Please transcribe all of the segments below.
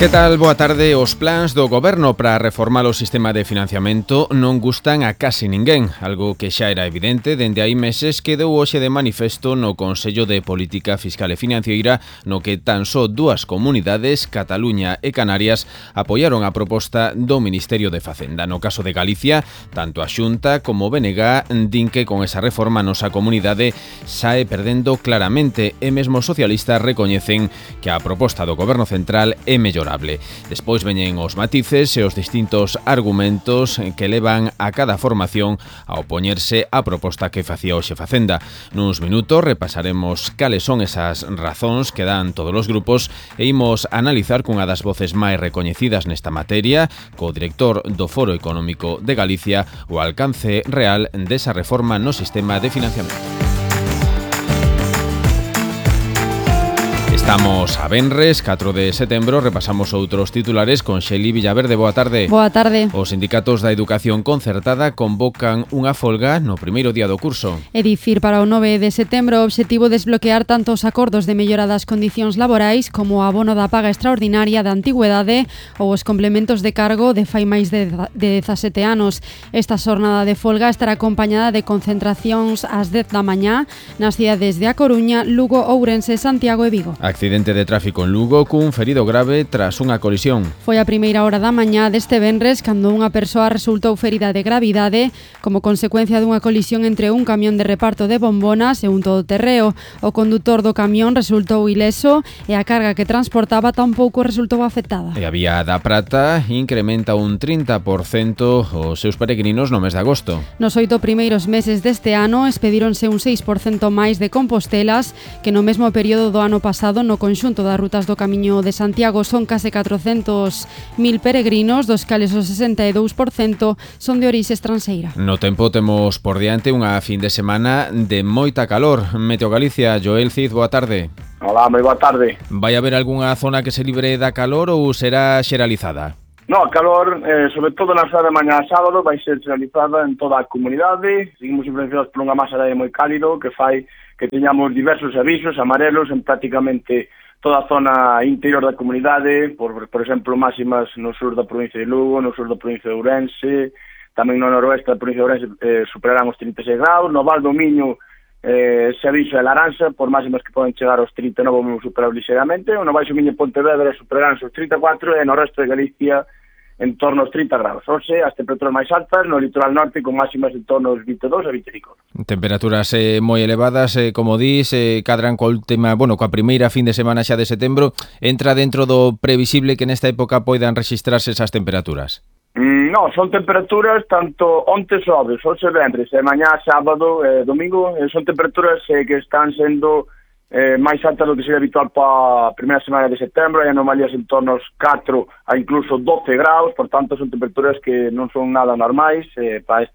Que tal? Boa tarde. Os plans do Goberno para reformar o sistema de financiamento non gustan a casi ninguén, algo que xa era evidente dende hai meses que deu hoxe de manifesto no Consello de Política Fiscal e Financeira, no que tan só dúas comunidades, Cataluña e Canarias, apoiaron a proposta do Ministerio de Facenda. No caso de Galicia, tanto a Xunta como o BNG din que con esa reforma a nosa comunidade sae perdendo claramente e mesmo os socialistas recoñecen que a proposta do Goberno Central é mellorable. Despois veñen os matices e os distintos argumentos que levan a cada formación a opoñerse á proposta que facía hoxe Facenda. Nuns minutos repasaremos cales son esas razóns que dan todos os grupos e imos analizar cunha das voces máis recoñecidas nesta materia, co director do Foro Económico de Galicia, o alcance real desa reforma no sistema de financiamento. Estamos a venres, 4 de setembro, repasamos outros titulares con Xeli Villaverde. Boa tarde. Boa tarde. Os sindicatos da educación concertada convocan unha folga no primeiro día do curso. É dicir, para o 9 de setembro o obxectivo é desbloquear tanto os acordos de mellora das condicións laborais como o abono da paga extraordinaria da antigüedade ou os complementos de cargo de fai máis de 17 anos. Esta xornada de folga estará acompañada de concentracións ás 10 da mañá nas cidades de A Coruña, Lugo, Ourense, Santiago e Vigo. Accidente de tráfico en Lugo cun ferido grave tras unha colisión. Foi a primeira hora da mañá deste venres cando unha persoa resultou ferida de gravidade como consecuencia dunha colisión entre un camión de reparto de bombonas e un todoterreo. O condutor do camión resultou ileso e a carga que transportaba tampouco resultou afectada. E a Vía da Prata incrementa un 30% os seus peregrinos no mes de agosto. Nos 8 primeiros meses deste ano expedíronse un 6% máis de compostelas que no mesmo período do ano pasado. No conxunto das rutas do Camiño de Santiago son case 400.000 peregrinos, dos cales o 62% son de orixe estranxeira. No tempo temos por diante unha fin de semana de moita calor. Meteo Galicia, Joel Cid, boa tarde. Hola, moi boa tarde. Vai haber algunha zona que se libre da calor ou será xeralizada? No, a calor, sobre todo na cidade de mañá sábado, vai ser xeralizada en toda a comunidade. Seguimos influenciados por unha masa de aire moi cálido que fai que teñamos diversos avisos amarelos en prácticamente toda a zona interior da comunidade, por exemplo, máximas no sur da provincia de Lugo, no sur da provincia de Ourense, tamén no noroeste da provincia de Ourense superarán os 36 graus, no Val do Miño ese aviso é laranxa, por máximas que poden chegar aos 39 vamos superar ligeramente, no Baixo Miño e Pontevedra superarán os 34 e no resto de Galicia en torno aos 30 graus. Oxe, as temperaturas máis altas no litoral norte con máximas en torno aos 22 a 25. Temperaturas moi elevadas, como dís, cadran coa primeira fin de semana xa de setembro. Entra dentro do previsible que nesta época poidan rexistrarse esas temperaturas? No, son temperaturas tanto onte sobres, hoxe venres, e mañá sábado e domingo, son temperaturas que están sendo máis altas do que sería habitual para a primeira semana de setembro, hai anomalías en torno aos 4 a incluso 12 graus, por tanto son temperaturas que non son nada normais para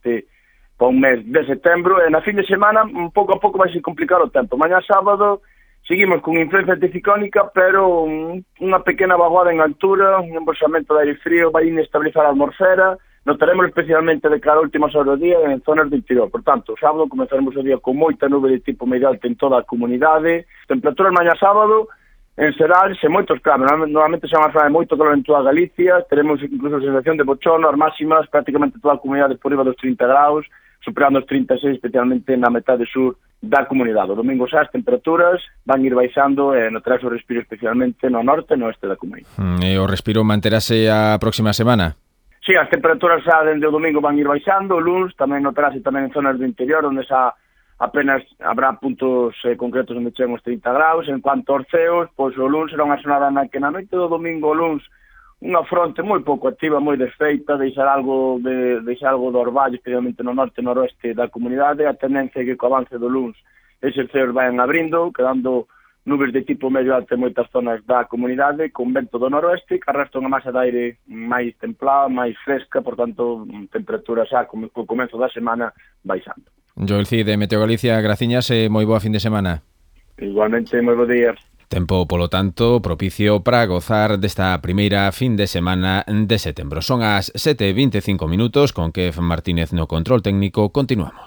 un mes de setembro, e na fin de semana pouco a pouco vai ser complicado o tempo. Mañá sábado seguimos con influencia anticiclónica, pero unha pequena vaguada en altura, un embolsamento de aire frío vai inestabilizar a atmosfera. Notaremos especialmente de cara a últimas horas do día en zonas do interior. Por tanto, o sábado comenzaremos o día con moita nube de tipo medio alto en toda a comunidade. Temperaturas mañá sábado, en xeral, sen moitos cambios. Normalmente se van a falar de moito calor en toda Galicia. Teremos incluso a sensación de bochorno, as máximas, prácticamente toda a comunidade por riba dos 30 graus, superando os 36, especialmente na metade sur da comunidade. O domingo xa as temperaturas van ir baixando e notarás o respiro especialmente no norte e no oeste da comunidade. E o respiro manterase a próxima semana? Sí, as temperaturas xa dende o domingo van ir baixando, o luns tamén notarase tamén en zonas do interior onde xa apenas habrá puntos concretos onde cheguen os 30 graus. En cuanto aos ceos, pois o luns será unha xornada na que na noite do domingo o luns unha fronte moi pouco activa, moi desfeita, deixar algo do orvallo, especialmente no norte e noroeste da comunidade. A tendencia é que co avance do luns eses ceos vayan abrindo, quedando nubes de tipo medio alto en moitas zonas da comunidade, con vento do noroeste, que arrastra unha masa de aire máis templada, máis fresca, por tanto, temperatura xa co comezo da semana baixando. Joel Cid, de Meteo Galicia, graciñas e moi boa fin de semana. Igualmente, moi bo día. Tempo, polo tanto, propicio para gozar desta primeira fin de semana de setembro. Son as 7:25 minutos, con Kev Martínez no control técnico. Continuamos.